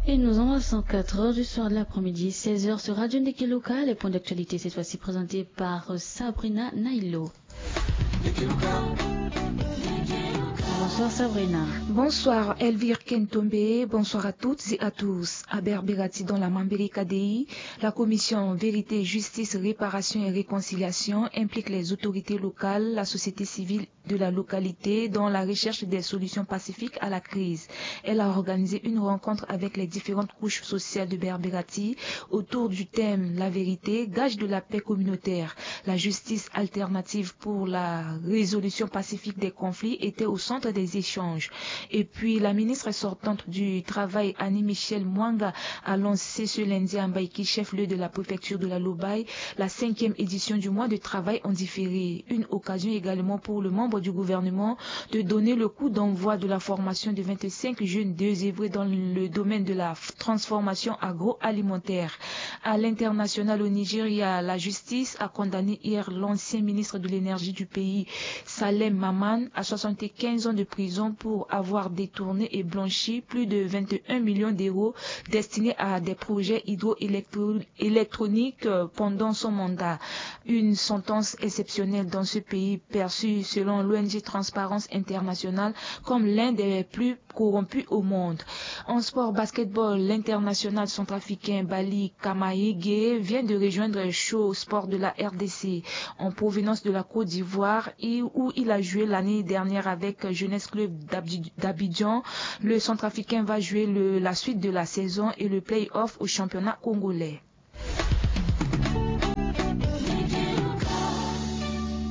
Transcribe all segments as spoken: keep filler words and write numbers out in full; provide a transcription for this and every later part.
Et nous embrassons quatre heures du soir de l'après-midi, seize heures sur Radio Ndeke Local, et point d'actualité cette fois-ci présenté par Sabrina Nailo. Bonsoir Sabrina. Bonsoir Elvire Kentombe, bonsoir à toutes et à tous. À Berberati dans la Mambeleka Dei, la commission Vérité, Justice, Réparation et Réconciliation implique les autorités locales, la société civile de la localité dans la recherche des solutions pacifiques à la crise. Elle a organisé une rencontre avec les différentes couches sociales de Berberati autour du thème la vérité, gage de la paix communautaire. La justice alternative pour la résolution pacifique des conflits était au centre des échanges. Et puis, la ministre sortante du Travail, Annie Michel Mwanga, a lancé ce lundi à Mbaïki, chef-lieu de la préfecture de la Lobaye, la cinquième édition du mois de travail en différé. Une occasion également pour le membre du gouvernement de donner le coup d'envoi de la formation de vingt-cinq jeunes désœuvrés dans le domaine de la transformation agroalimentaire. À l'international, au Nigeria, la justice a condamné hier l'ancien ministre de l'énergie du pays, Salem Maman, à soixante-quinze ans de prison pour avoir détourné et blanchi plus de vingt et un millions d'euros destinés à des projets hydroélectro- électroniques, euh, pendant son mandat. Une sentence exceptionnelle dans ce pays perçu, selon l'O N G Transparence Internationale, comme l'un des plus corrompus au monde. En sport basketball, l'international centrafricain Bali Kamayege vient de rejoindre Show Sport de la R D C en provenance de la Côte d'Ivoire, et où il a joué l'année dernière avec Jeunesse Club d'Abdi- d'Abidjan. Le centrafricain va jouer le- la suite de la saison et le play-off au championnat congolais.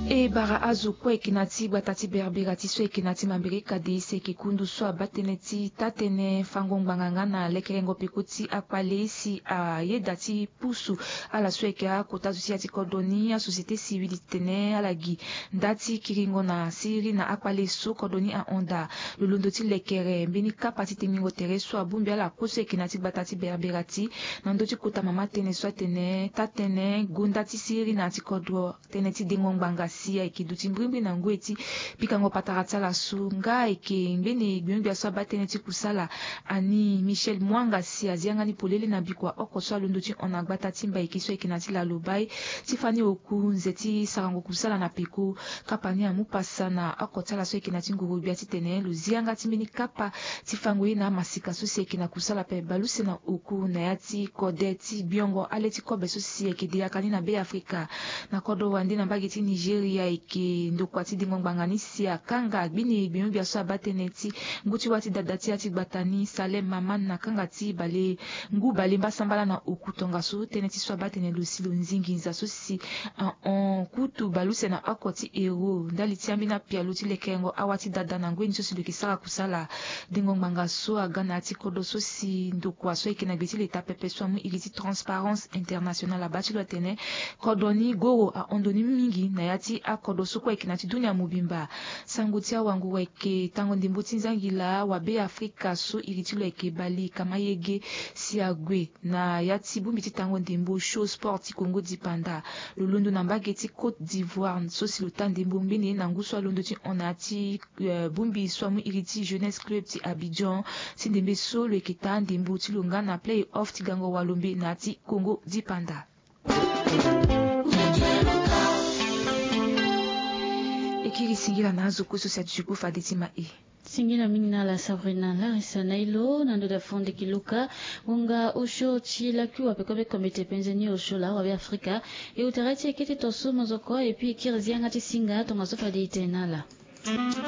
E bara azo kue ayeke na ya ti gbata ti Berbera ti so ayeke na ya ti Mambere Kadei si ayeke kundu so abaa tënë ti taa-tënë fango ngbanga nga na lekerengo peko ti akpale si ayeda ti pusu ala so ayeke akota zo ti ya ti kodro ni asociété civile titene ala gi nda ti kiringo na siriri na akpale so kodro ni ahon daa. Lo londo ti lekere mbeni kapa ti tengbingo tere so abongbi ala kue so ayeke na ya ti gbata ti Berbera ti na ndö ti kota mama tënë so atene taa-tënë gonda ti siriri na ya ti kodro. Tënë ti dengo ngbanga si ayeke duti mbrimbri na ngoi ti pikango patara ti ala so nga ayeke ngbene gbia-gbia so abaa tënë ti kusala. Annie Michel Mwanga si azia nga ni polele na bikua oko so alondo ti hon na gbata ti Mbaiki so ayeke na ya ti Lalobai ti fani oku nze ti sarango kusala na peko. Kapa ni amu pasa na oko ti ala so ayeke na ya ti ngorogbia titene lo zia nga ti mbeni kapa ti fango ye na amasika so si ayeke na kusala ape baleuse na oku na ya ti kode ti gbiongo ale ti kobe so si ayeke de yaka ni na Beafrika. Na kodro wande na mbage ti Nigeria ayeke ndokua ti dengo ngbanga ni si akanga gbini gbiongbia so abaa tënë ti ngu ti wâ ti dada ti ya ti gbata ni Salem Maman na kanga ti bale ngu bale mbasambala na oku tongaso tënë ti so abaa tene lo si lo nzingi nza so si ahon kutu baleuse na oko ti ero ndali ti ambeni apialo ti lekerengo awâ ti dada na ngoi ni so si lo yeke sara kusala. Dengo ngbanga so aga na ya ti kodro so si ndokua so ayeke na gbe ti leta pepe so amu iri ti Transparence Internationale abaa ti lo atene kodro ni goro ahon ndo ni mingi na ya ti akodro so kue ayeke na ya ti dunia mobimba. Sango ti awanguru ayeke tango ndembo ti nzangila wa Beafrika so iri ti lo ayeke Bali Kamayege si ague na ya ti bongbi ti tango ndembo Show Sport ti Congo dipanda. Lo londo na mbage ti Côte d'Ivoire so si lo taa ndembo ngbene na ngu so alondo ti hon na ya ti, eh, bongbi so amu iri ti Jeunesse Club ti Abidjan. Ti ndembe so lo yeke taa ndembo ti lo nga na play-off ti gango walombe na ya ti Congo dipanda. E kiri singila na azo kue so si aduti kue fade ti ma e. Singila mingi na ala Sabrina Larissa Nailo na ndo da fondeki luka. Ngonga osio ti lakui wape kobe kombete penze ni osio la wabe Afrika. E utara ti e kete to so mozoko et puis e kiri zi yanga ti singa tongaso fade e tene na ala.